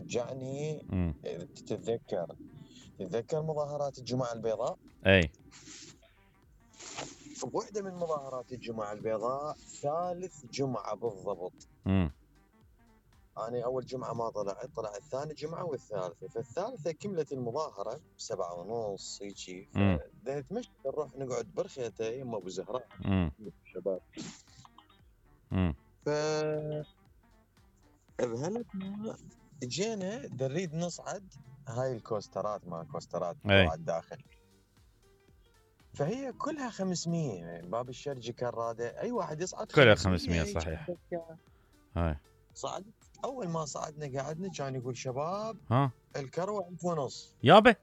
رجعني تتذكر مظاهرات الجمعة البيضاء؟ اي بوحدة من مظاهرات الجمعة البيضاء ثالث جمعة بالضبط. أنا أول جمعة ما طلع الثاني جمعة والثالثة، فالثالثة كملت المظاهرة 7:30 هيجي، فنتمشى نروح نقعد برخيته يما أبو زهراء الشباب. ف بهالأثناء جينا نريد نصعد هاي الكوسترات، ما كوسترات على الداخل، فهي كلها 500. باب الشرجي كراده اي واحد يصعد كلها 500 صحيح. هاي صعد. اول ما صعدنا قعدنا كان يقول شباب الكروه 1500 يابا.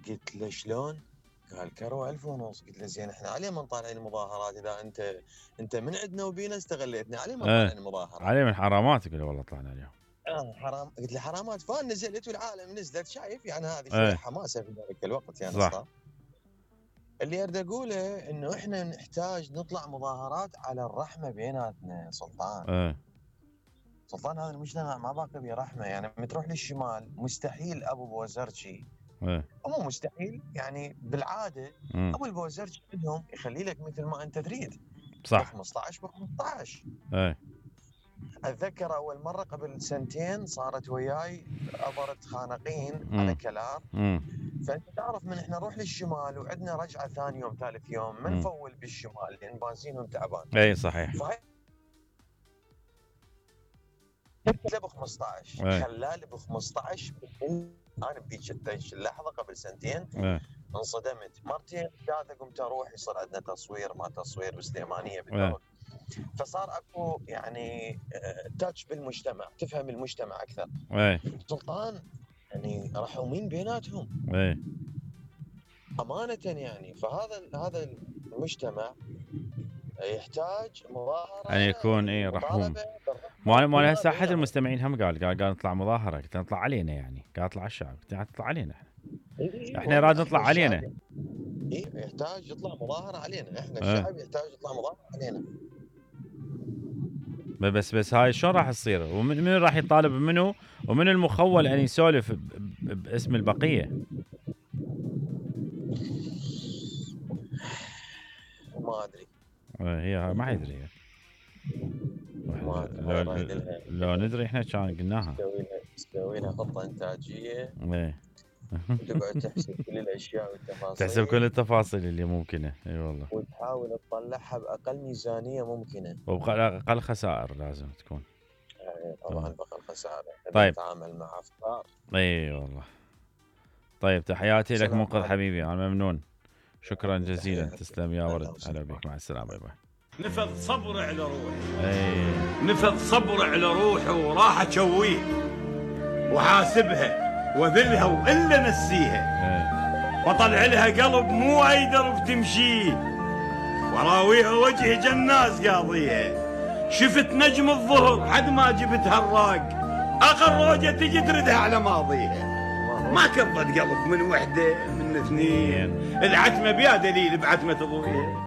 قلت له شلون؟ قال كروه 1500. قلت له زين احنا عليه ما طالعين المظاهرات؟ اذا انت من عندنا وبينا استغليتنا عليه ما طالعين المظاهرات؟ عليه من حرامات. قال والله طلعنا اليوم. حرام. قلت له حرامات فان نزلت والعالم نزلت، شايف يعني هذه شويه حماسه في ذلك الوقت يعني صح. اللي اريد اقوله انه احنا نحتاج نطلع مظاهرات على الرحمه بيناتنا سلطان. سلطان هذا المجتمع ما باقي به رحمه، يعني لما تروح للشمال مستحيل ابو بوزرجي مو مستحيل يعني بالعاده ابو البوزرجي عندهم يخلي لك مثل ما انت تريد صح 15 ب 15. اتذكر اول مره قبل سنتين صارت وياي عبرت خانقين على كلام. فانت تعرف من احنا نروح للشمال وعندنا رجعه ثاني يوم ثالث يوم ما نفول بالشمال لان بنزين وتعبان. اي صحيح. خلى ب 15 خلال ب 15. انا بذيك اللحظه قبل سنتين انصدمت مرتين ثلاثه، قمت اروح يصير عندنا تصوير ما تصوير بسليمانيه بالدور. فصار اكو يعني تاتش بالمجتمع، تفهم المجتمع اكثر. سلطان يعني رحومين بيناتهم امانه يعني. فهذا المجتمع يحتاج مظاهره ان يكون رحوم. ما هسه احد المستمعين هم قال نطلع مظاهره، قلت نطلع علينا يعني، قال اطلع على الشعب، قلت نطلع علينا احنا راد نطلع علينا. يحتاج يطلع مظاهره علينا احنا الشعب، يحتاج يطلع مظاهره علينا. بس هاي شلون راح تصير؟ ومن راح يطالب منه ومن المخول ان يسولف باسم البقيه؟ ما ادري. هي ما يدري هي. لو ندري احنا كان قلناها. تسوي لها خطه انتاجيه. تقعد تحسب كل الاشياء والتفاصيل. تحسب كل التفاصيل اللي ممكنه. اي والله. وتحاول تطلعها باقل ميزانيه ممكنه. وباقل خسائر لازم تكون. طبعا باقل خسائر. طيب. نتعامل مع افكار. اي والله. طيب تحياتي لك منقذ حبيبي، انا ممنون. شكرا جزيلا. تسلم يا ورد. هلا بك. مع السلامه. باي باي. نفذ صبر على روحي. نفذ صبر على روحي وراح اشويه وحاسبها وذلها والا نسيها وطلع لها قلب مو اي درب تمشيه وراويها وجه جناز قاضيها. شفت نجم الظهر حد ما جبتها الراق، اخر روجه تجي تردها على ماضيها. ما كبت قلب من وحده من اثنين، العتمه بيا دليل بعتمه ابويا.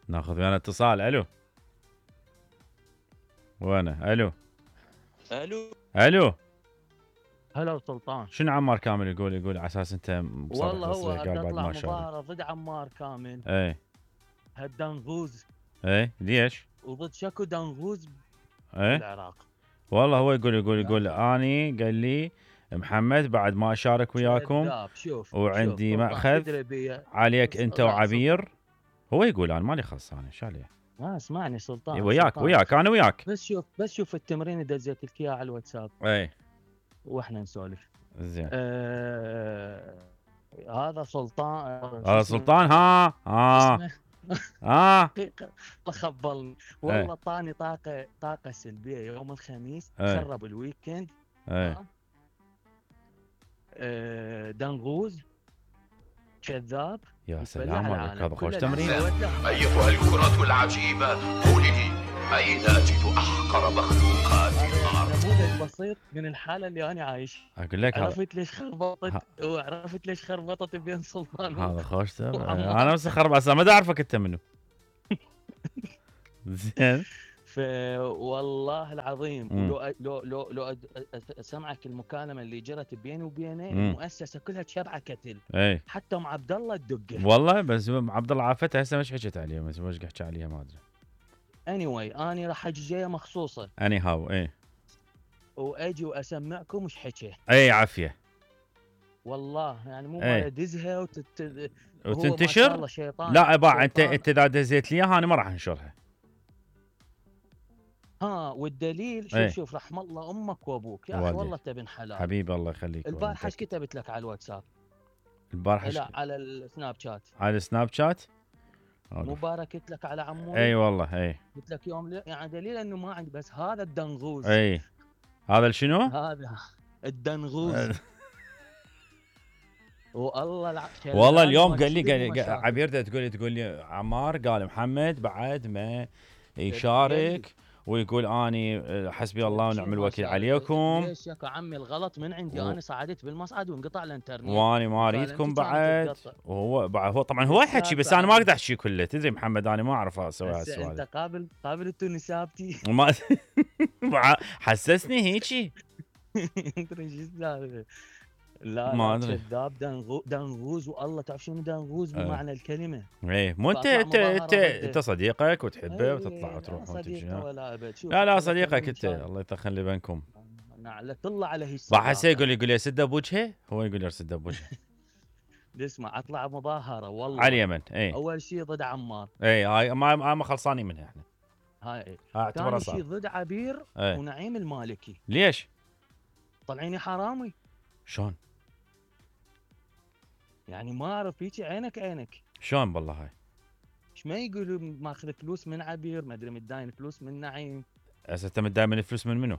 ناخذ ويانا اتصال. الو وانا. الو هلا سلطان. شنو عمار كامل يقول على اساس انت والله هو قال بعد ما مظاهره ضد عمار كامل. هالدنغوز. ليش؟ وضد شكو دنغوز بالعراق. والله هو يقول اني قال لي محمد بعد ما اشارك وياكم وعندي ماخذ عليك انت وعبير. هو يقول انا مالي خص، انا ايش عليه؟ ما اسمعني سلطان. وياك انا وياك. بس شوف التمرين دزيت لك اياه على الواتساب. واحنا نسولف. زين. هذا سلطان. خبلني والله. طاني طاقه سلبيه يوم الخميس. خرب الويكند. دنغوز كذاب. يا سلام عليك، هذا خوش تمرين. ايتها الكرة العجيبة قولي لي اين اجد احقر مخلوقات الارض؟ نموذج بسيط من الحالة اللي انا عايش. اقول لك عرفت ليش خربطت بين سلطان. هذا خوش تمرين. انا بس خرب ما اعرفك انت منو. زين. والله العظيم لو اسمعك المكالمه اللي جرت بيني وبينه، المؤسسه كلها تشبعه كتل. حتى ام عبد الله تدقه والله. بس عبد الله عافته هسه مش حكيت عليها، مش حكي عليها ما ادري. anyway انا راح اجي جايه مخصوصه هاو واجي واسمعكم مش حكي. عافيه والله يعني مو ما ادزها وتنتشر. لا باع انت اذا دزيت لي اياها انا ما راح انشرها. والدليل شوف رحم الله امك وابوك يا اخي، والله انت بن حلال حبيبي الله يخليك. البارحه ايش كتبت لك على الواتساب؟ البارحه لا على السناب شات. على السناب شات مو باركت لك على عموري؟ والله قلت لك يوم يعني دليل انه ما عندي، بس هذا الدنغوز. هذا شنو؟ هذا الدنغوز. والله اليوم قال لي عبير تقول لي عمار قال محمد بعد ما يشارك ويقول اني حسبي الله ونعم الوكيل عليكم. ليش يا عمي الغلط من عندي؟ انا صعدت بالمصعد وانقطع الانترنت واني ما اريدكم بعد. وهو طبعا هو يحكي بس انا ما اقدر احكي كله. تدري محمد انا ما اعرف اسوي هالسؤال. انت قابل التونسابتي ما حسسني هيجي. تدري شو السالفه؟ لا ما ادري. كذاب دنغوز. والله تعرف شنو دنغوز بمعنى الكلمه؟ مو انت صديقك وتحبه وتطلع وتروح وتجي. لا صديقك انت، الله يخلي بينكم. طلع على هي راح يقول لي سده بوجهه. هو يقول لي سده بوجهه. اسمع اطلع مظاهره والله على اليمن. اول شيء ضد عمار. هاي ما خلصانين منها احنا. هاي اعتبرها ثاني شيء ضد عبير ونعيم المالكي. ليش؟ طلعيني حرامي. شلون؟ يعني ما اعرف هيك عينك. شلون بالله هاي؟ ايش ما يقولوا ماخذ فلوس من عبير، ما ادري متداين فلوس من نعيم. هسه انت متداين من الفلوس من منو؟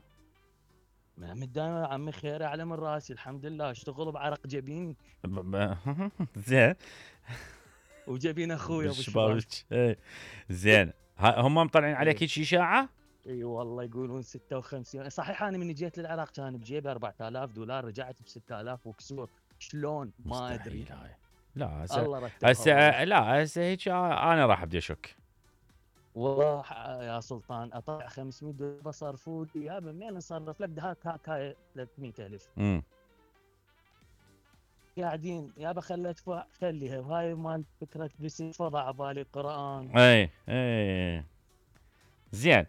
ما متداين عمي خير على من راسي الحمد لله، اشتغل بعرق جبيني. زين. وجبين اخوي ابو شباب. زين. هم مطلعين عليك هيك اشاعه؟ اي والله يقولون 56. صحيح انا من جيت للعراق كان بجيبي $4000، رجعت ب 6000 وكسور. شلون ما ادري. لا هسه هيك انا راح ابدي اشك. والله يا سلطان اطلع $500 بصرفوا لي يا منين اصرف لك هاي 300,000. قاعدين يابا خلي ادفع خليها. وهاي مال فكره بس فضع على بالي قران. زين.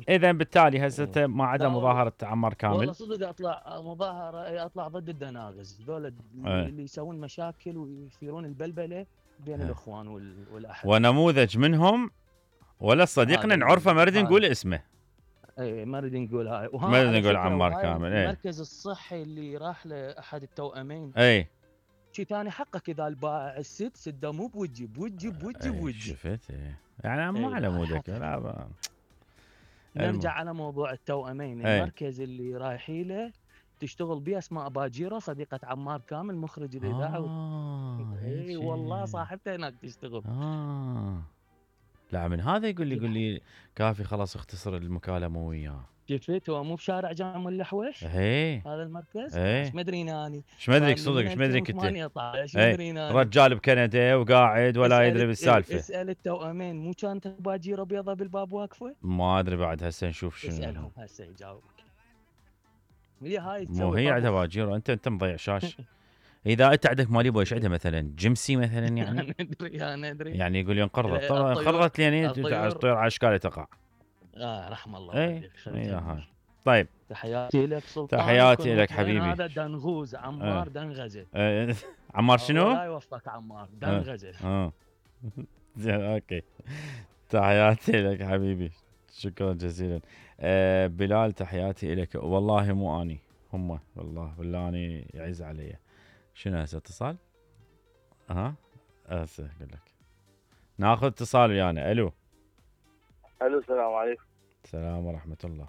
اذا بالتالي هسه ما عدا مظاهره عمار كامل. والله صدق اطلع مظاهره، اطلع ضد الدناغز ذول اللي يسوون مشاكل ويثيرون البلبله بين الاخوان والاحد. ونموذج منهم ولا صديقنا نعرفه ما نريد نقول اسمه. ما نريد نقول هاي. ما نريد نقول عمار كامل. المركز الصحي اللي راح لاحد التوأمين. شي ثاني حقك اذا البائع سده مو بوجي. شفت يعني مو على مودك. نرجع على موضوع التوأمين. المركز اللي رايحين له تشتغل به اسماء باجيره صديقه عمار كامل مخرج الاذاعه. والله صاحبته هناك تشتغل. لا من هذا يقول لي كافي خلاص اختصر المكالمه وياه. شفت هو مو بشارع جامع الحويش؟ هذا المركز؟ ايش مدريني اني؟ ايش مدريك صدق؟ ايش مدريك انت؟ رجال بكندا وقاعد ولا يدري بالسالفه. اسال التوأمين مو كانت باجيره بيضه بالباب واقفه؟ ما ادري بعد هسه نشوف شنو. اسالهم هسه يجاوبك. هاي مو هي عندها باجيره. انت مضيع شاش. اذا انت عندك مالي بو ايش عندها مثلا جمسي مثلا يعني. ندري يعني يقول انقرضت. انقرضت لين الطيور على اشكالها تقع. رحم الله. طيب تحياتي لك سلطان. تحياتي لك حبيبي. هذا دنغوز عمار دنغزه. عمار شنو؟ الله يوفقك عمار دنغزه. زين اوكي. تحياتي لك حبيبي. شكرا جزيلا. بلال تحياتي لك. والله مو اني هم والله اني يعز علي. شنو هسه اتصال؟ هسه اقول لك ناخذ اتصال ويانا. الو السلام عليكم. السلام ورحمه الله.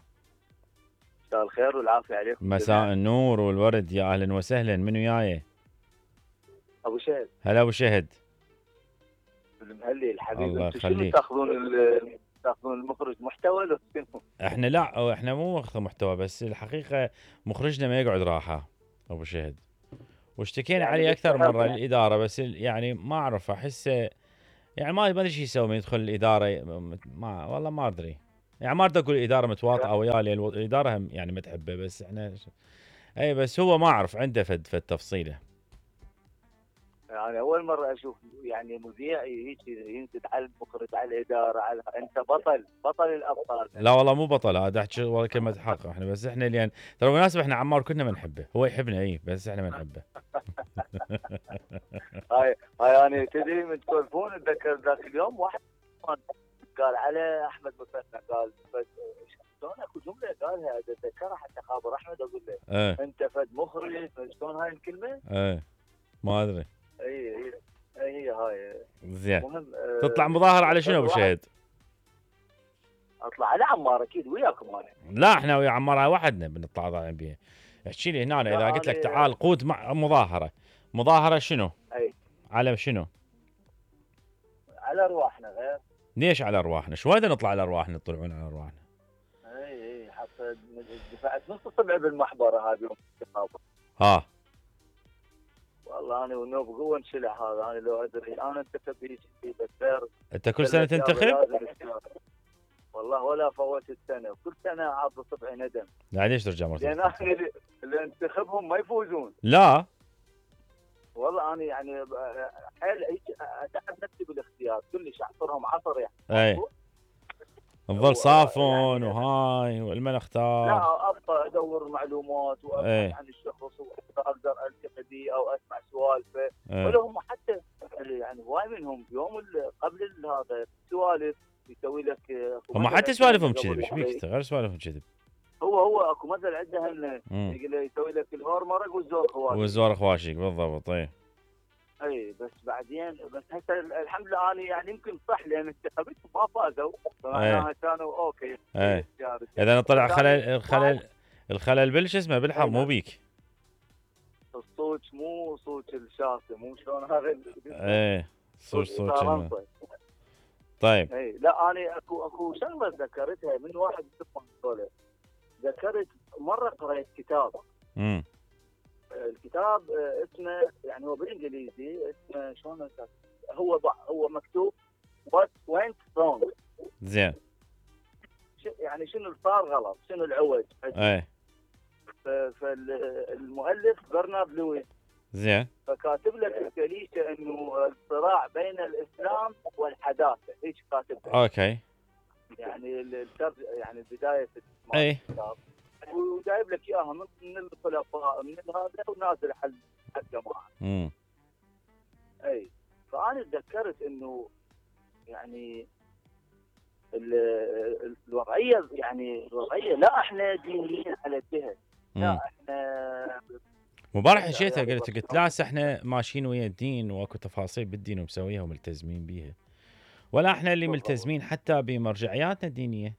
مساء الخير والعافيه عليكم. مساء النور والورد يا اهلا وسهلا. من وياي؟ ابو شهد. هلا ابو شهد. المهلي الحبيب. الله يخليك. تاخذون المخرج محتوى لو شنو؟ احنا لا احنا مو ماخذ محتوى، بس الحقيقه مخرجنا ما يقعد راحه ابو شهد، واشتكينا يعني عليه اكثر مره الاداره، بس يعني ما اعرف احسه يعني ما ادري شو يسوي من يدخل الاداره. والله ما ادري يعني ما تقول الاداره متواطئه وياه لان الاداره هم يعني ما تحبه، بس احنا اي بس هو ما اعرف عنده فد تفصيله. يعني اول مره اشوف يعني مذيع هيك ينزل على المخرج على الاداره على انت بطل الابطال. لا والله مو بطل، هذا احكي والله كلمه حق. احنا بس احنا لان ترى بالمناسبه احنا عمار كلنا ما نحبه، هو يحبنا اي بس احنا ما نحبه. هاي يعني تدري من تسولفون اتذكر ذاك اليوم واحد قال على احمد مثنى قال شلون اكو جمله قالها اتذكرها حتى خابر احمد اقول له انت فد مخرج شلون هاي الكلمه؟ ما ادري. هي هاي زين. تطلع مظاهر على شنو ابو شهيد؟ اطلع على عمار اكيد وياكم انا. لا احنا ويا عمار هاي وحدنا بنطلع طالعين بيها. احكي لي هنا اذا قلت لك تعال قود مع مظاهره شنو؟ اي على شنو؟ على ارواحنا غير. ليش على ارواحنا؟ شو هذا نطلع على ارواحنا تطلعون على ارواحنا؟ اي حتى دفعت نص الصبع بالمحبره هذه يوم الانتخابات. والله انا ونوب قوه انشلع هذا، انا لو ادري انا انتخب هيك بس انت كل سنه تنتخب؟ والله ولا فوت السنه، كل سنه عاط صبعي ندم. يعني ليش ترجع مرة؟ لان انا اللي انتخبهم ما يفوزون. لا والله انا يعني حيل اتعب نفسي بالاختيار، كلش اعصرهم عصر يعني. اي نظل صافون يعني وهاي والمن اختار. لا ابقى ادور معلومات وابحث عن الشخص واقدر التقي به او اسمع سوالفه. ولا هم حتى يعني هواي منهم يوم قبل هذا سوالف يسوي لك. هم حتى سوالفهم كذب، ايش بيك غير سوالفهم كذب. هو اكو مثل عندهم يسوي لك الهور مرق والزور خواشق. والزور خواشق بالضبط. اي بس بعدين بس هسه الحمد لله انا يعني يمكن صح لان انتخاباتهم ما فازوا فمعناها كانوا اوكي. اذا طلع الخلل بالش اسمه بالحظ مو بيك. الصوت مو صوت الشاطئ مو شلون هذا. صوت طيب. لا انا اكو شغله ذكرتها من واحد من ذكرت مره قرأت كتاب. الكتاب اسمه يعني هو بالانجليزي اسمه شلون هو مكتوب What went wrong. زين. يعني شنو اللي صار غلط، شنو العوج. فالمؤلف برنارد لويس. زين. فكاتب لك الكليشه انه الصراع بين الاسلام والحداثه، هيك كاتب. اوكي. يعني يعني بدايه الكتاب. وجايب لك اياها من الخلفاء من هذا ونازل على الجماعه. فانا تذكرت انه يعني الوضعيه يعني لا احنا دينيين على الجهه. لا احنا مبارح حكيتها قلت لا احنا ماشيين ويا الدين واكو تفاصيل بالدين ومسويها وملتزمين بيها، ولا احنا اللي ملتزمين حتى بمرجعياتنا الدينيه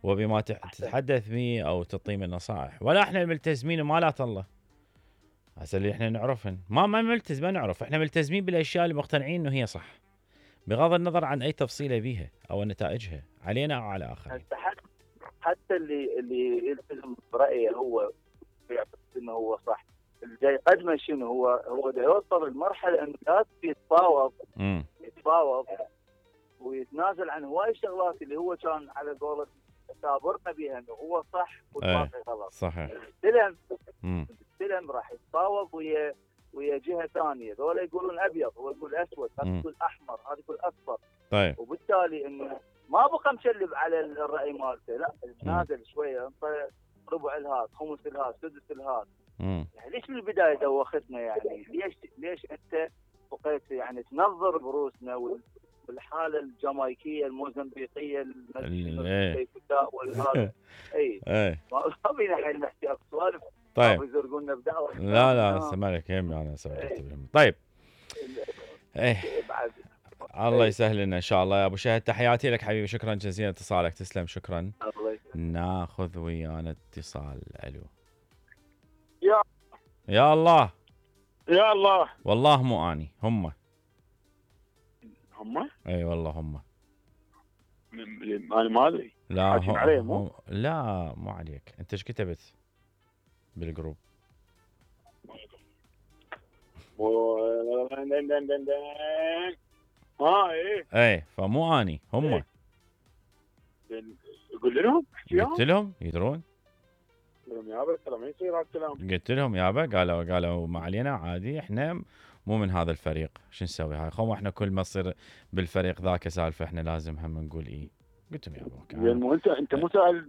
وبما تتحدث به او تعطي من نصائح، ولا احنا الملتزمين بمالات الله. هسه اللي احنا نعرفهن ما ملتزم ما نعرف، احنا ملتزمين بالاشياء اللي مقتنعين انه هي صح بغض النظر عن اي تفصيله بيها او نتائجها علينا او على اخرين. حتى اللي يلتزم برايه هو يعتقد انه هو صح، اللي جاي يقدمه شنو هو دا يوصل لمرحله انه لازم يتفاوض ويتنازل عن هواي شغلات اللي هو كان على قولة تابرنا بها انه هو صح والباقي غلط. صحيح. السلم راح يتفاوض ويا جهه ثانيه، ذولا يقولون ابيض هو يقول اسود، هذا يقول احمر، هذا يقول اصفر. طيب. وبالتالي انه ما بقى مشلب على الراي مالته، لا نازل شويه انت ربع الهات، خمس الهات، سدس الهات. يعني ليش من البدايه دوختنا يعني؟ ليش انت بقيت يعني تنظر بروسنا والحاله الجامايكيه الموزمبيقيه الكيفداء والهذا. ما بينا حين نحكي سوالف. طيب. يزرقونا بدعوه. لا سمعك يهمني انا سويت. طيب. بعد الله يسهل لنا ان شاء الله يا ابو شهد. تحياتي لك حبيبي، شكرا جزيلا اتصالك، تسلم شكرا. ناخذ ويانا اتصال. الو. يا الله والله مو اني، هم اي والله هم. انا ما ادري. لا لا مو عليك. انت ايش كتبت بالجروب؟ ايه فمو اني، هم. يقول لهم قلت لهم يدرون يابا ترى ما يصير هالكلام. قلت لهم يابا قالوا ما علينا عادي احنا مو من هذا الفريق شو نسوي هاي خو احنا كل ما تصير بالفريق ذاك سالفه احنا لازم هم نقول ايه. قلت لهم يابا مو انت مو سأل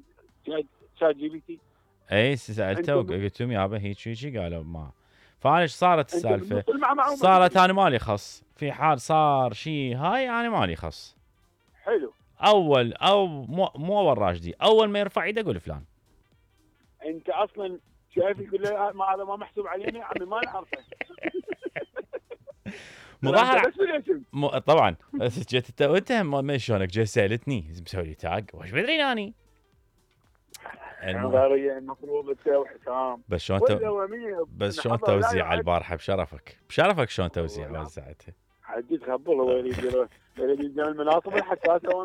شات جي بي تي؟ اي سالته وقلت لهم يابا هيك قالوا ما. فانا ايش صارت السالفه؟ صارت انا مالي خص في حال صار شيء هاي انا مالي خص. حلو. اول او مو اول راشدي اول ما يرفع ايده اقول فلان. انت اصلا شايف يقول له ما هذا ما محسوب علينا يا عمي ما نعرفه. مظاهرة طبعا جيت انت ما شلونك جاي سالتني مسوي لي تاج وش بدري اني المفروض تسوي حسام بس شلون توزيع على البارحه بشرفك شلون توزيع وزعتها حجي تخبل هو يريد المناصب الحساسه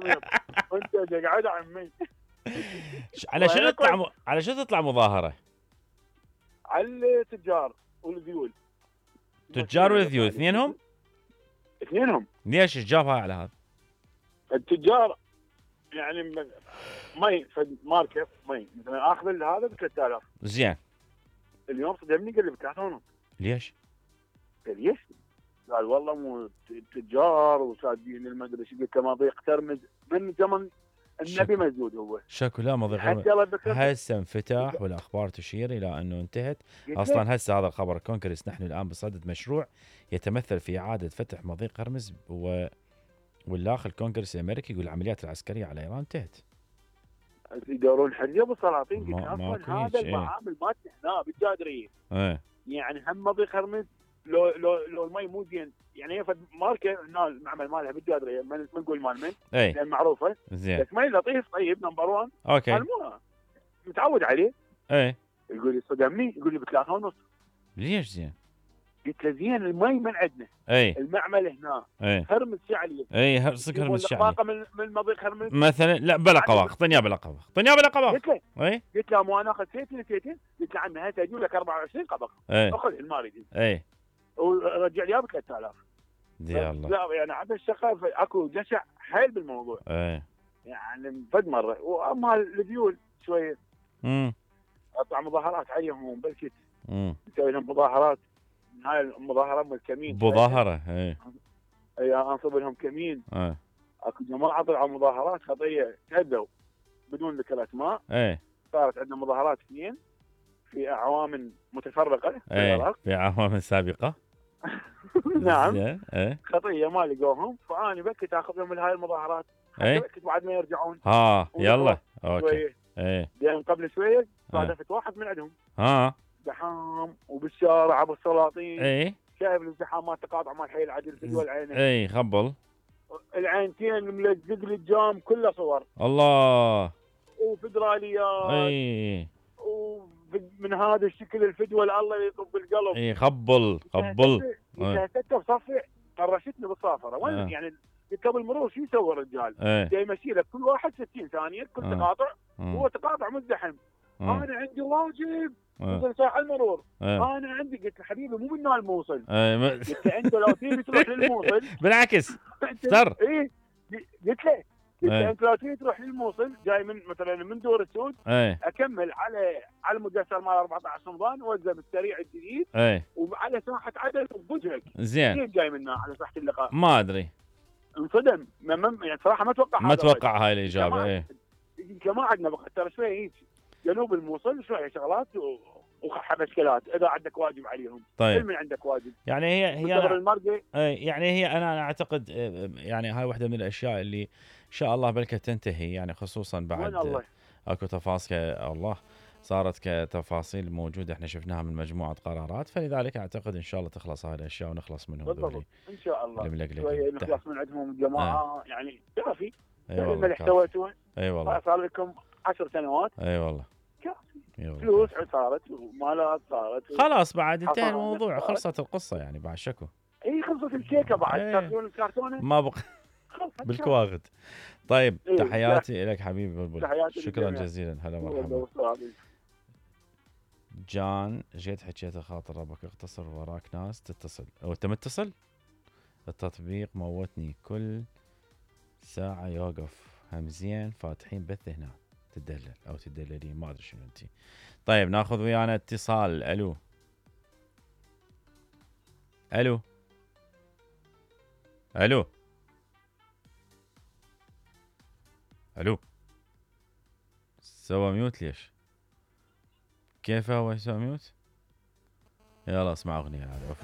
وانت قاعد عمي. على شو تطلع مظاهره؟ على التجار والذيول. تجار والذيول اثنينهم ليش جابها على هذا؟ التجار يعني مي ماركه مي مثلا اخذ هذا ب 3000 زين اليوم صدمني قال لي ب 3.5. ليش؟ قال ليش؟ قال والله مو تجار وسادين المدري ايش قلت ما ضيق ترمز من زمن النبي مسدود هو شكو لا ما ضيق هسه انفتح والاخبار تشير الى انه انتهت اصلا. هسه هذا الخبر كونغرس نحن الان بصدد مشروع يتمثل في اعاده فتح مضيق هرمز والداخل الكونغرس الامريكي يقول العمليات العسكريه على ايران انتهت. يدورون حريه بالسلاطين هذا المعامل مالتنا هنا بالجادريه. يعني هم مضيق هرمز لو المي مو زين يعني هي ماركه هنا المعمل مالها بالجادريه ما نقول مال من لان معروفه زين بس مي لطيف طيب نمبر 1 اوكي متعود عليه. يقول لي صدمني يقول لي ب 3.5. ليش زين؟ قلت له زين المي من عندنا المعمل هنا هرمز شعلي هرسك هرمز شعلي من مضيق هرمز مثلا لا بلا قواق اعطني بلا قواق قلت له مو انا اخذ سيتين قلت له عمي هات اجيب لك 24 قبق اخذ الماري ورجع لي ب 3000. يا الله لا يعني عبد الشقه اكو جشع حيل بالموضوع يعني فد مره. واما الذيول شويه اطلع مظاهرات عليهم بالكت نسوي لهم مظاهرات. هاي المظاهره من الكمين مظاهره انصب لهم كمين. اكو جماعه طلعوا مظاهرات خطيه تهدوا بدون ذكر اسماء. صارت عندنا مظاهرات 2 في اعوام متفرقه في العراق في اعوام سابقه. نعم خطيه ما لقوهم فاني بكيت اخذهم من هاي المظاهرات بكيت بعد ما يرجعون. يلا اوكي لان قبل شويه صادفت واحد من عندهم زحام وبالشارع ابو السلاطين شايف الازدحامات تقاطع مال حي العدل في دول عينه خبل العينتين ملزق لي الجام كله صور الله وفدراليات ومن هذا الشكل الفدوى الله يطب القلب. خبل سته بصفي طرشتني بالصافره وين يعني قبل مرور شو يسوي الرجال؟ جاي يمشي لك كل واحد 60 ثانيه كل تقاطع هو تقاطع مزدحم. انا عندي واجب مثل ساعه المرور انا عندي قلت له حبيبي مو من الموصل قلت له انت لو تبي تروح للموصل بالعكس ترى قلت له انت لو تبي تروح للموصل جاي من مثلا من دور السود اكمل على المجسر مال 14 رمضان وزن السريع الجديد وعلى ساحه عدن بوجهك زين جاي منها على ساحه اللقاء ما ادري انصدم يعني صراحه ما اتوقع هاي الاجابه. ما عندنا بقى ترى شويه هيك جنوب الموصل شويه شغلات ومشكلات اذا عندك واجب عليهم. طيب من عندك واجب يعني هي انا اعتقد يعني هاي واحده من الاشياء اللي ان شاء الله بلكه تنتهي يعني خصوصا بعد اكو تفاصيل الله صارت كتفاصيل موجوده احنا شفناها من مجموعه قرارات فلذلك اعتقد ان شاء الله تخلص هاي الاشياء ونخلص منهم بالضبط ان شاء الله شويه نخلص من عندهم الجماعه يعني كافي اللي احتويتوه. والله صار لكم 10 سنوات والله فلوس صارت ومالات صارت خلاص بعد انتهى الموضوع خلصت القصه يعني بعد شكو خلصت الكيكه بعد تاكلون الكرتونه ما بقى بالكواغد. طيب تحياتي لك حبيبي بلبل شكرا جزيلا هلا مرحبا. جان جيت حكيت خاطر ربك اختصر وراك ناس تتصل انت متصل التطبيق موتني كل ساعه يوقف هم زين فاتحين بث هنا تدلل او تدللين ما ادري شنو انت. طيب ناخذ ويانا اتصال. الو الو الو الو سوى ميوت ليش؟ كيف هو يسوي ميوت؟ يلا اسمع اغنيه هذا.